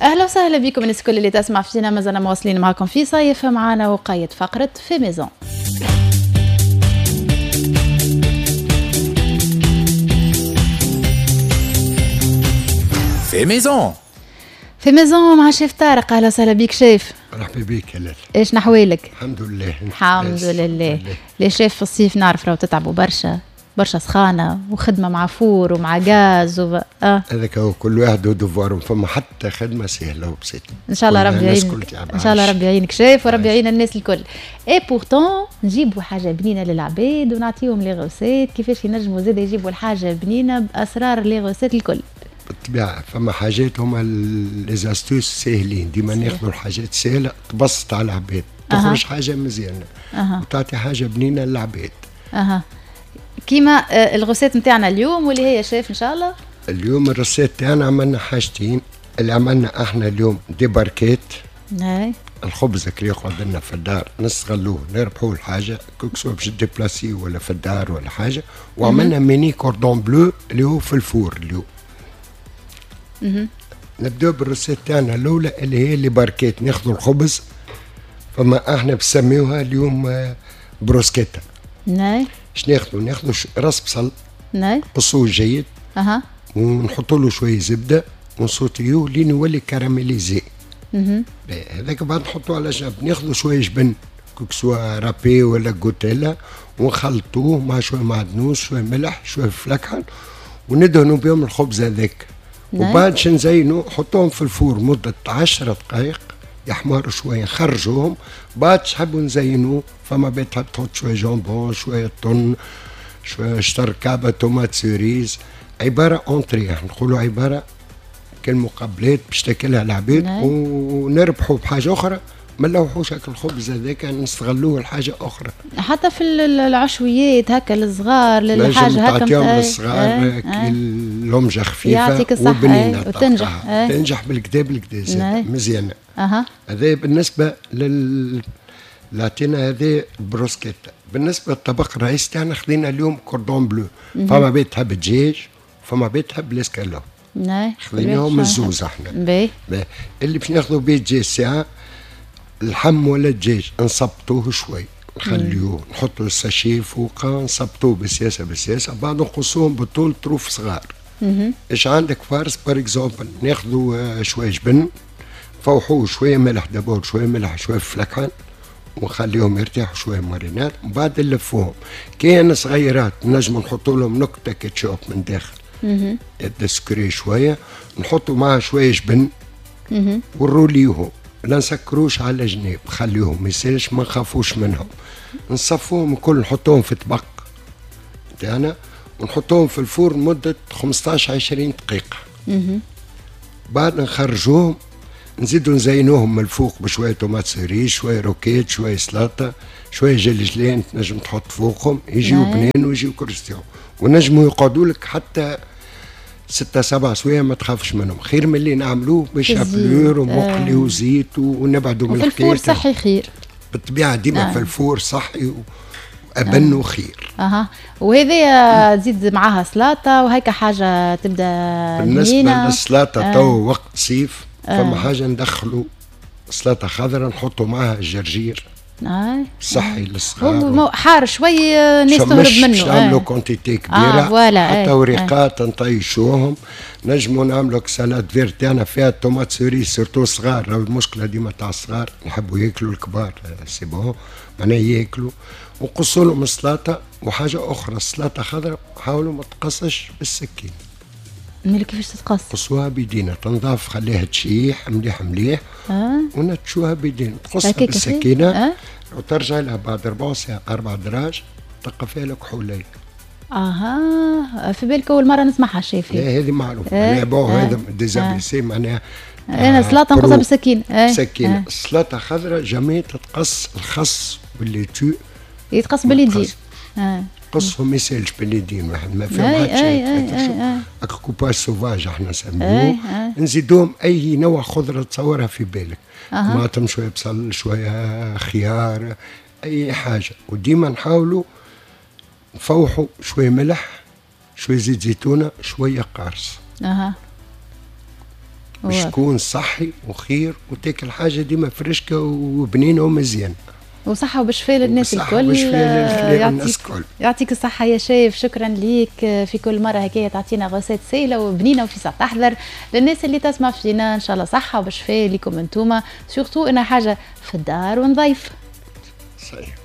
اهلا وسهلا بكم الناس الكل اللي تسمع فينا، مازلنا مواصلين معكم في صيف معنا وقايد فقرة fait maison. fait maison، fait maison مع شيف طارق. اهلا وسهلا بك شيف. مرحبا بك يا لاله. ايش نحوالك؟ الحمد لله. الحمد لله. les chefs في الصيف نعرف راهو تتعبوا برشا برشا، سخانه وخدمه مع four ومع غاز هذاك هو، كل واحد و devoir و، فما حتى خدمة سهلة وبسيطة. ان شاء الله ربي يعينك، ان شاء الله ربي يعينك شيف وربي يعين الناس الكل. et pourtant نجيبوا حاجة بنينه للعباد ونعطيهم les recettes كيفاش ينجموا زاد يجيبوا الحاجة بنينه باسرار les recettes الكل. بالطبيعة فما حاجات هما les astuces ساهلين، ديما ناخذوا الحاجات سهلة تبسط على العباد، تخرج حاجة مزيانه وتعطي حاجة بنينه للعباد. كيما ال recette نتاعنا اليوم واللي هي شيف ان شاء الله. اليوم ال recette تاعنا عملنا حاجتين، اللي عملنا احنا اليوم des barquettes. الخبز اللي يقعد لنا في الدار نستغلوه نربحوه الحاجة que ce soit باش déplacer ولا في الدار ولا حاجة. وعملنا mini cordon bleu اللي هو في ال four اليوم. نبداو بال recette تاعنا الاولى اللي هي les barquettes. ناخذوا الخبز، فما احنا بسميوها اليوم بروسكيتا. اش ناخذوا؟ ناخذوا راس بصل نقصوه جيد، ونحطوا له شوية زبدة ونصوتيوه لين يولي caramélisé. هذاك بعد نحطوه على جنب. ناخذوا شوية جبن que ce soit râpé ولا جوتيلا ونخلطوه مع شوية معدنوس، شوية ملح، شوية فلكحل، وندهنوا بهم الخبز هذاك. وبعد باش نزينوا حطوهم في ال four مدة 10 دقائق يحمروا شوية، نخرجوهم. بعد تحبوا نزينوه، فما بيت تحب تحط شوية jambon، شوية thon، شوية شطر كعبة tomates cerises. عبارة entrée، نقولوا عبارة كالمقبلات باش تاكلها العباد. ونربحوا بحاجة أخرى، ما نلوحوش هاك الخبز هذاك، نستغلوه لحاجة أخرى. حتى في العشويات هكا للصغار، للحاجة هكا تعطيهم للصغار لمجة خفيفة وبنينة وتنجح. تنجح بالكدا بالكدا مزيانة. هذا بالنسبة لل لعطينا هذا بروسكيتا. بالنسبة للطبق الرئيسي تاعنا خذينا اليوم cordon bleu. فما بيت تحب دجاج، فما بيت تحب الاسكالوب. خذيناهم الزوز احنا. اللي باش ناخذوا بيه دجاج ساعة اللحم ولا الدجاج نصبطوه شوي، نخليوه نحطوا ال sachet فوقه، نصبطوه بالسياسة بالسياسة، بعد نقصوهم بالطول طروف صغار. ايش عندك farce par exemple، ناخذوا شوية جبن، فوحوه شوية ملح d'abord، شوية ملح، شوية فلكحان، ونخليهم يرتاحوا شوية marinade، ومن بعد نلفوهم. كان صغيرات نجموا نحطوا لهم نكتة كاتشوب من داخل، يبدا شوية، نحطوا معها شوية جبن ونروليوهم، لا نسكروش على جناب، خليهم ما يسالش، ما نخافوش منهم. نصفوهم الكل، نحطوهم في طبق تاعنا ونحطوهم في ال four مدة 15 20 دقيقة. بعد نخرجوهم، نزيدو نزينوهم من الفوق بشوية tomates cerises، شوية roquette، شوية سلطة، شوية جلجلين تنجم تحط فوقهم، يجيو بنين ويجيو croustillants، ونجموا يقعدوا لك حتى 6 7 سوايع ما تخافش منهم، خير من اللي نعملوه ب chapelure ومقلي وزيت ونبعدوا من الحكاية. في ال four صحي خير بالطبيعة، ديما في ال four صحي وأبن وخير. وهذه تزيد معاها سلطة وهيك حاجة تبدا بالنسبة للسلطة تو وقت صيف فما حاجة ندخلوا سلطة خضراء نحطوا معاها الجرجير. صحي للصغار، هو حار شوي الناس تهرب منه، باش نعملوا quantité كبيرة. حتى وريقات نطيشوهم، نجموا نعملوا salade verte تاعنا فيها tomates cerises surtout صغار. المشكلة ديما تاع الصغار نحبوا ياكلوا، الكبار c'est bon معناها ياكلوا. ونقصوا لهم السلطة. وحاجه اخرى السلطة خضراء حاولوا ما تقصش بالسكين. مالك كيفاش تتقص؟ قصوها بيدينا، تنضاف خليها تشيح مليح مليح. ونتشوها بيدينا، تقصها بالسكينة. وترجع لها بعد ربع ساعة 4 دراج تلقى فيها الكحولية. في بالك أول مرة نسمعها شيف. لا هذه معروفة. معناها bon هذا des ABC معناها. أنا سلطة نقصها بالسكينة. سكينة. السلطة خضراء jamais تتقص الخس وال laitue يتقص باليدين. قصهم ما يسالش باليدين، واحد ما فيهم حتى شيء. coupage sauvage احنا نسميوه. نزيدوهم اي نوع خضرة تصورها في بالك، طماطم، شوية بصل، شوية خيار، اي حاجة. وديما نحاولوا نفوحوا شوية ملح، شوية زيت زيتونه، شوية قارص. باش تكون صحي وخير وتاكل حاجة ديما فريشكه وبنينه ومزيانه. وصحة وبشفاء للناس الكل. يعطيك يعطيك الصحة يا شيف، شكرا ليك. في كل مرة هكايا تعطينا recette سهلة وبنينة وفي تحضر. للناس اللي تسمع فينا، إن شاء الله صحة وبشفاء لكم انتوما، surtout إنها حاجة في الدار ونظيف. صحيح.